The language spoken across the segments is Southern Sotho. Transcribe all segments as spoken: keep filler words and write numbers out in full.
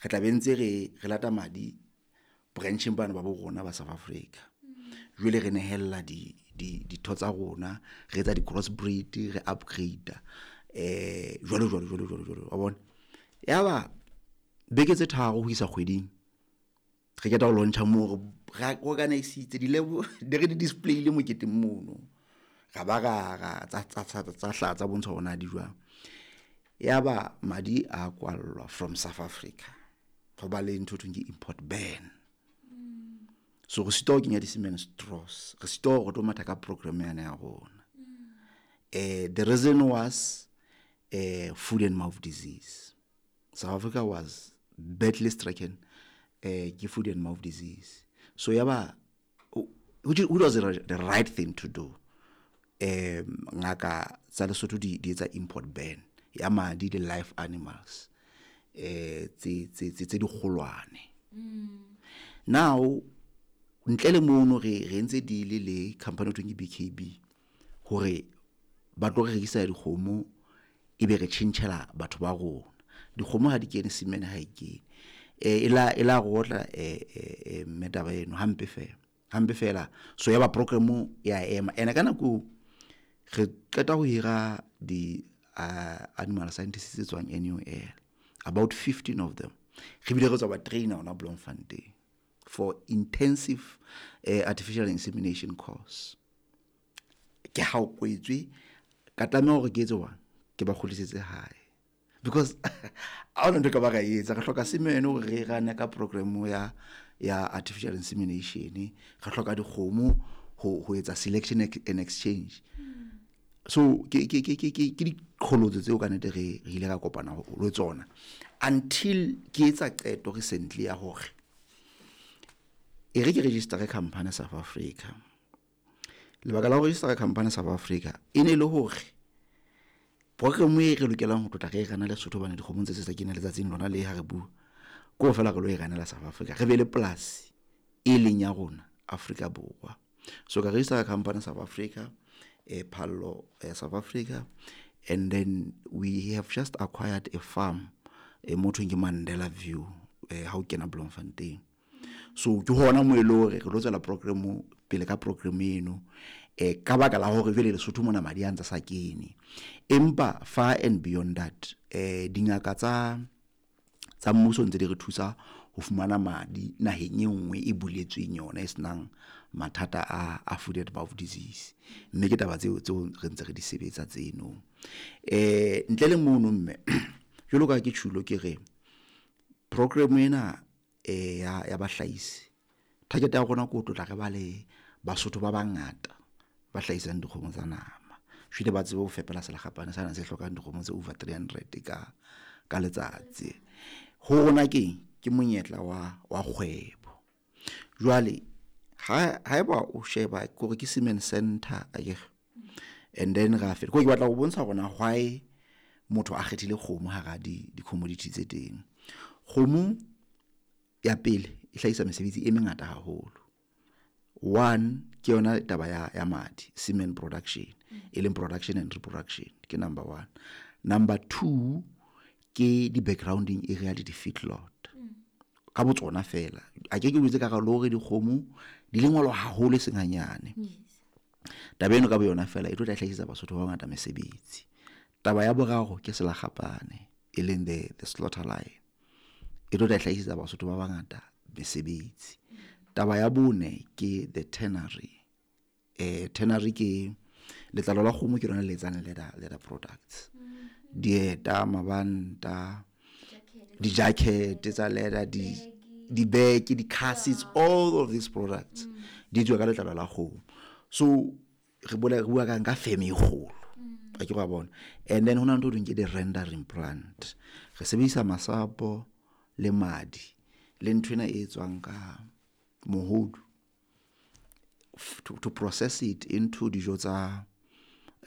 Re tla be ntse re re lata madi brancheng bana ba bo rona ba South Africa. Jwale re nehella di di ditho tsa rona, re etsa di cross breed, re upgrade eh jwalo jwalo jwalo jwalo jwalo wa bona. Yaba beke tse tharo ho isa kgweding re qeta ho launcha moo re organise-itse di-lab di re di display-ile moketeng mono. Ra ba ra ra tsa tsa tsa tsa hlaha tsa bontsha hore na di jwang. Yaba madi a kwallwa from South Africa. Ho ba le ntho e thweng ke import ban. So re sitwa ho kenya di-semen straws, re sitwa hore re tlo matha ka program yane ya rona. Eh the reason was eh foot and mouth disease. South Africa was badly stricken eh ke foot and mouth disease. So yaba which, which was the, the right thing to do. Um ngaka tsa Lesotho di di etsa import ban ya madi di live animals eh tse tse tse di kgolwane. Now ntle le mono re re entse deal le company e thweng ke B K B hore ba tlo re rekisa dikgomo, ebe re tjhentjhela batho ba rona. Dikgomo ha di kene, semen ha e kene. Eh e la e la rotla eh eh mme taba eno hampe fela, hampe fela. So yaba program ya ema ene ka nako re qeta ho hira di uh, animal scientists tse tswang N U L, about fifteen of them. Re bile re tswa ba trainer hona Bloemfontein for intensive uh, artificial insemination course. Ke ha o kwetswe, ka tlameha hore ke etse jwang, ke ba kgutlisetse hae because ha ona ntho e ka ba ra etsa. Re hloka semen hore re rane ka program ya ya artificial insemination, re hloka dikgomo ho ho etsa selection and exchange. So ke ke ke ke ke ke diqholotso tseo ka nnete re re ile ra kopana le tsona until ke etsa qeto recently ya hore e re ke register company South Africa. Lebaka la ho register company South Africa e ne le hore program e re lokelang ho tlotla re e rana Lesotho, hobane dikgomo tse tse kena letsatsing lona le ha re bua ko fela re lo e ranela South Africa, re be le polasi e leng ya rona Afrika Borwa. So ka register company South Africa, eh Phallo eh, South Africa, and then we have just acquired a farm e motho ke Mandela View eh ha o kena Bloemfontein. So ke hona mo e le hore re tlo tswela program pele ka program eno eh ka baka la hore jwale Lesotho mona madi a ntsa sa kene. Empa far and beyond that, eh dingaka tsa tsa mmuso ntse di re thusa ho fumana madi naheng e nngwe e buletsweng yona e senang mathata a a foot and mouth disease, mme ke taba tseo tseo re ntse re di sebetsa tseno. eh ntle le mono, mme jwalo ka ke tjhulo, ke re program ena eh ya ya bahlahisi, target ya rona ke ho tlotla re ba le Basotho ba bangata ba hlahisang dikgomo tsa nama, jwale ba tsebe ho fepela selekgapane sana se hlokang dikgomo tse over three hundred ka ka letsatsi. Ho rona keng ke monyetla wa wa kgwebo. Jwale ha haeba o sheba kore ke semen center akere, and then ra feta ko ke batla ho bontsha hore na why motho a kgethile kgomo hara di di commodity tse teng. Kgomo ya pele e hlahisa mesebetsi e mengata haholo. One ke yona taba ya ya madi, semen production, e leng production and reproduction, ke number one. Number two ke di backgrounding area le di feedlot ka botsona fela. A ke ke botse ka ga hore dikgomo di lengwalo haholo e seng hanyane. Taba eno ka boyona fela e tlo tla hlahisetsa Basotho ba bangata mesebetsi. Taba ya boraro ke selakgapane, e leng the the slaughter line, e tlo tla hlahisetsa Basotho ba bangata mesebetsi. Taba ya bone ke the tannery. eh tannery ke letlalo la kgomo, ke lona le etsang leather leather products, dieta, mabanta, di-jacket tsa leather, di di-bag, di-car seats, all of these products di tswa ka letlalo la kgomo. So re bola re bua ka ka firm e kgolo a ke wa bona. And then hona ntho e thweng ke di-rendering plant. Re sebedisa masapo le madi le nthwena e etswang ka mohodu to, to process it into dijo tsa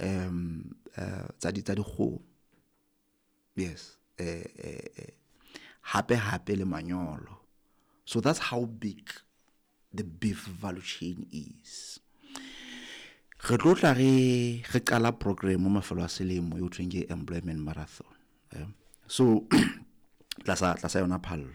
um uh, tsa di tsa dikgomo. Yes, eh eh hape hape le manyolo. So that's how big the beef value chain is. Re tlo tla re re qala program mo mafelo a selemo e ho thweng ke employment marathon, eh? So tlasa tlasa yona Phallo.